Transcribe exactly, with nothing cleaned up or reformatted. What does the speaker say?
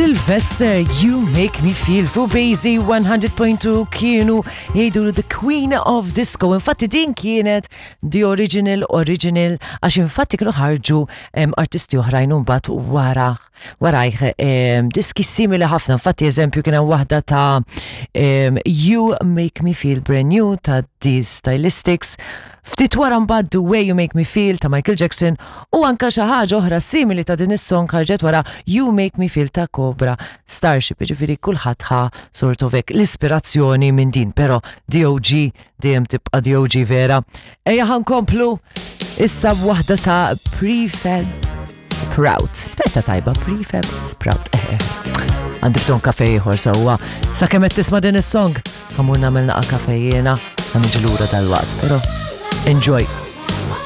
Sylvester, "You Make Me Feel" fuq Basie one hundred point two. Kienu jgħidu The Queen of Disco. Infatti din kienet the original original, għax infatti kienu ħarġu em, artisti oħrajn mbagħad wara warajh em, diski simili ħafna. Infatti, eżempju, kien hemm waħda ta' em, "You Make Me Feel Brand New" ta' The Stylistics. Ftit wara mbagħad "The Way You Make Me Feel" ta' Michael Jackson u anka xi ħaġa oħra simili ta' din is-song ħarġet wara, "You Make Me Feel" ta' Cobra Starship. Ġifieri kulħadd ħa sort of hekk l-ispirazzjoni minn din, però D O G dejjem tibqa' D O G vera. Ejja, ħa nkomplu issa b'waħda ta' Prefab Sprout. Spetta tajba, Prefab Sprout. Eh, eh. Għandi bżonn kafe ieħor sewwa. Sakemm qed tisma' din is-song, ħa mmur nagħmel naqa' kafe jiena, ħa niġi lura dal-waqt, però enjoy.